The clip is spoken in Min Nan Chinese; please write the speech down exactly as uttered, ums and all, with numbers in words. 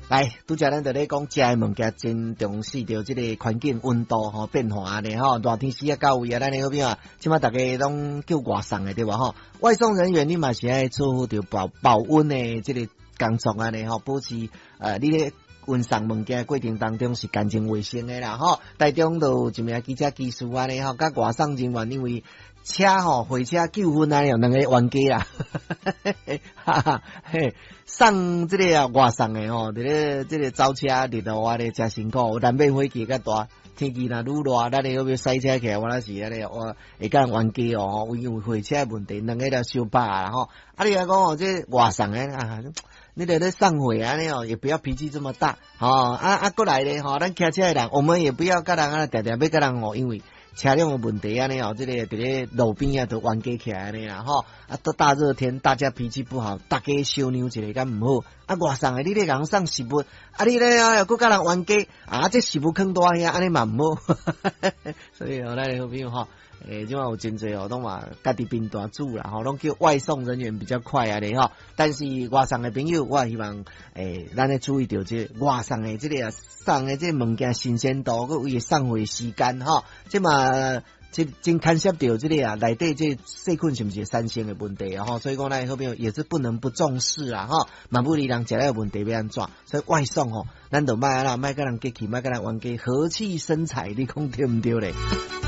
來，拄才咱就咧講食的物件真重視著這個環境溫度吼變化按呢吼，熱天時啊到位啊，咱的好朋友啊，這馬逐家攏叫外送的對無吼？外送人員你嘛是愛做好著保保溫的這個工作按呢吼，保持呃你咧運送物件過程當中是乾淨衛生的啦吼。台中就有一名機車技師按呢吼，佮外送人員因為車吼貨車糾紛啊，有兩个冤家啦，哈哈嘿，送這個啊外送的吼，佇咧這個走車日落啊咧誠辛苦，難免火氣較大。天氣若愈熱，咱會欲駛車起來，我那是按呢，我會共人冤家哦，因為貨車問題，兩个咧相拍啦吼。啊，你來講哦，這外送的啊，你佇咧送貨按呢哦，也不要脾氣這麼大，吼啊啊，閣來咧吼，咱騎車的人，我們也不要佮人啊，定定欲佮人哦，因為車輛的問題按呢哦，這個佇咧路邊啊，都冤家起來按呢啦吼。啊，都大熱天，大家脾氣不好，大家相讓一下敢毋好。啊，外送的你咧共人送食物，啊，你咧啊又閣佮人冤家，啊，這食物囥佇遐，按呢嘛毋好。所以哦，咱的好朋友吼，欸，這馬有真濟哦，攏嘛家己貧大煮啦，吼，攏叫外送人員比較快按呢吼。但是外送的朋友，我希望欸，咱咧注意著這個外送的這個送的這個物件新鮮度，閣伊送貨時間吼，這嘛這真牽涉著這個啊內底這細菌是毋是產生的問題啊吼，所以講咱好朋友也是不能不重視啊吼，嘛不離人食了有問題欲按怎，所以外送吼，咱就莫按呢，莫佮人客氣，莫佮人冤家，和氣生財，你講對毋對咧？